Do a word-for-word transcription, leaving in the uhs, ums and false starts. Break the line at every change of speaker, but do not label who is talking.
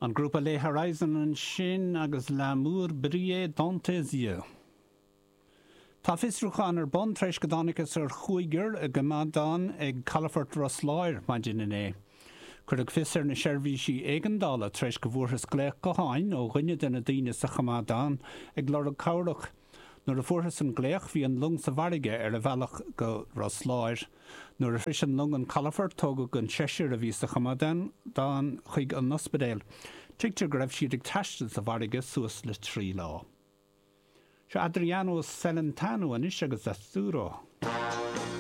An grúpa Les Horizons ansin agus L'amour brillait dans tes yeux. Tá fiosrúchán ar bun tar éis go dtángthas ar chúigear i gcoimeádán ag Calafort Ros Láir maidin inné. Cuireadh fios ar na seirbhísí éigeandála tar éis go bhfuarthas glaoch gutháin ó dhuine de na daoine sa choimeádán ag lorg cabhrach. Nuair a fuarthas an glaoch bhí an long sa bhfarraige ar a bhealach go Ros Láir. Nuair a shroich an long an calafort tógadh an seisear a bhí sa choimeádán chuig an ospidéal. Tuigtear go raibh siad ag taisteal sa bhfarraige suas le trí lá. Seo Adriano Celentano anois agus Azzurro.